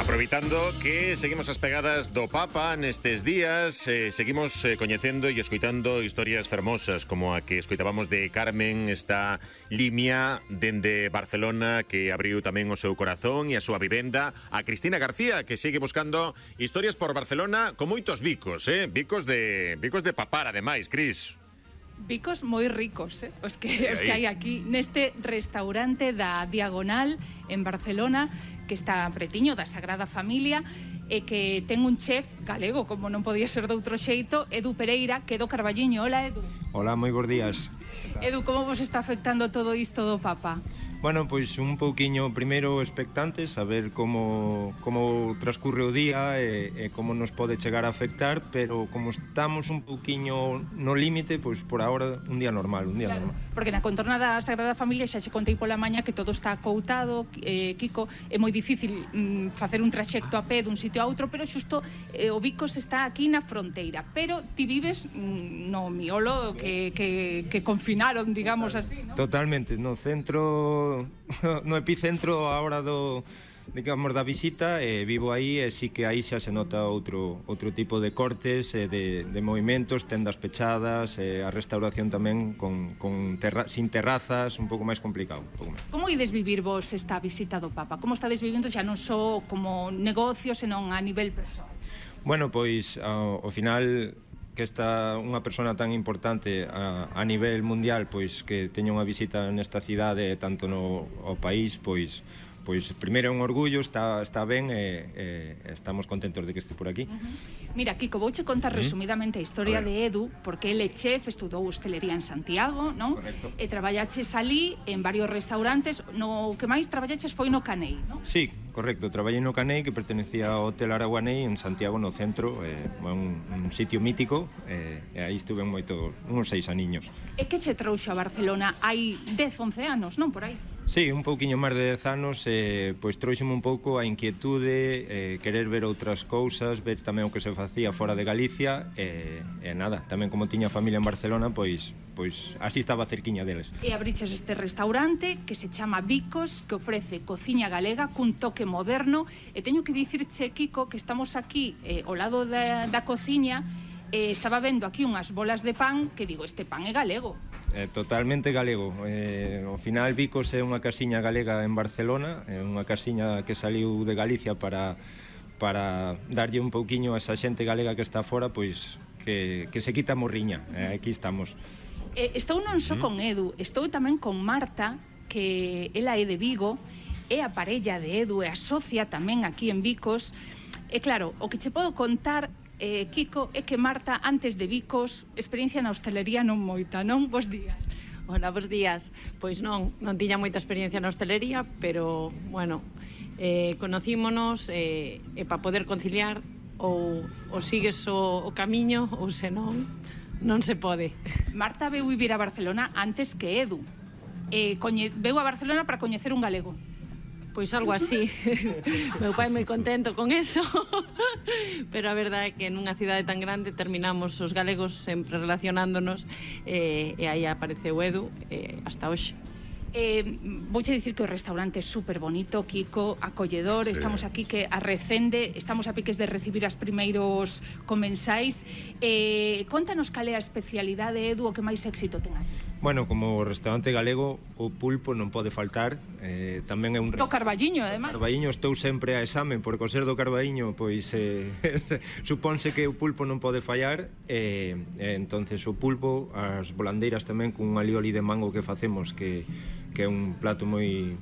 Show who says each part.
Speaker 1: Aproveitando que seguimos as pegadas do Papa nestes días, seguimos coñecendo e escoitando historias fermosas como a que escoitábamos de Carmen, esta limia dende Barcelona que abriu tamén o seu corazón e a súa vivenda, a Cristina García que sigue buscando historias por Barcelona con moitos bicos, bicos de papar ademais, Cris.
Speaker 2: Bicos moi ricos, os que hai aquí neste restaurante da Diagonal en Barcelona, que está pretiño da Sagrada Familia e que ten un chef galego, como non podía ser de outro xeito, Edu Pereira, que é do Carballiño. Hola, Edu.
Speaker 3: Hola, moi bons días.
Speaker 2: Edu, como vos está afectando todo isto do Papa?
Speaker 3: Bueno, pois un pouquiño primeiro expectantes, a ver como transcurre o día e como nos pode chegar a afectar, pero como estamos un pouquiño no límite, pois por ahora un día normal,
Speaker 2: Claro, porque na contorna da Sagrada Familia xa che contei pola maña que todo está acoutado, Kiko, é moi difícil facer un traxecto a pé dun sitio a outro, pero xusto o Bicos está aquí na fronteira, pero ti vives no miolo que confinaron, digamos así, ¿no?
Speaker 3: Totalmente, no centro, no epicentro ahora digamos da visita, vivo aí e sí que aí xa se nota outro tipo de cortes, de movimentos, tendas pechadas, a restauración tamén sin terrazas, un pouco máis complicado.
Speaker 2: Como ides vivir vos esta visita do Papa? Como estades vivindo xa non só como negocio, senón a nivel persoal?
Speaker 3: Bueno, pois ao final que está unha persona tan importante a nivel mundial, pois que teña unha visita nesta cidade tanto no país, pois primeiro é un orgullo, está ben e estamos contentos de que este por aquí.
Speaker 2: Mira, Kiko, vouche contar resumidamente a historia de Edu, porque ele é chef, estudou hostelería en Santiago, non?
Speaker 3: Correcto.
Speaker 2: E traballaches ali en varios restaurantes, no que máis traballaches foi no Canei, non?
Speaker 3: Sí, correcto, traballei no Canei, que pertenecía ao Hotel Araguanei en Santiago, no centro, un sitio mítico, e aí estuve uns 6 aniños.
Speaker 2: E que che trouxo a Barcelona hai 10-11 anos, non? Por aí.
Speaker 3: Sí, un pouquiño máis de 10 anos, pois trouxeme un pouco a inquietude, querer ver outras cousas, ver tamén o que se facía fora de Galicia, e nada, tamén como tiña familia en Barcelona, pois así estaba cerquiña deles.
Speaker 2: E abriches este restaurante que se chama Bicos, que ofrece cociña galega cun toque moderno, e teño que dicirche, Kiko, que estamos aquí ao lado da cociña, estaba vendo aquí unhas bolas de pan que digo, este pan é galego.
Speaker 3: Totalmente galego. Ao final Bicos é unha casiña galega en Barcelona, é unha casiña que saliu de Galicia para darlle un pouquiño a esa xente galega que está fora, pois que se quita a morriña. Aquí estamos.
Speaker 2: Estou non só con Edu, estou tamén con Marta, que ela é de Vigo, é a parella de Edu e a socia tamén aquí en Bicos. E claro, o que che podo contar, Kiko, é que Marta, antes de Bicos, experiencia na hostelería non moita, non? Bos días.
Speaker 4: Hola, bos días. Pois non tiña moita experiencia na hostelería, pero, bueno, conocímonos e para poder conciliar ou sigues o camiño ou senón non se pode.
Speaker 2: Marta veu vivir a Barcelona antes que Edu. Veu a Barcelona para coñecer un galego.
Speaker 4: Pois algo así. Meu pai moi contento con eso. Pero a verdade é que nunha cidade tan grande terminamos os galegos sempre relacionándonos e aí apareceu Edu hasta hoxe.
Speaker 2: Vouche dicir que o restaurante é super bonito, Kiko, acolledor, estamos aquí que a recende, estamos a piques de recibir as primeiros comensais. Contanos cal é a especialidade, Edu, o que máis éxito ten aí.
Speaker 3: Bueno, como restaurante galego, o pulpo non pode faltar, tamén é un...
Speaker 2: Do Carballiño, además.
Speaker 3: Carballiño estou sempre a exame, porque ao ser do Carballiño, pois supónse que o pulpo non pode fallar, entonces o pulpo, as volandeiras tamén, cun alioli de mango que facemos, que é un plato moi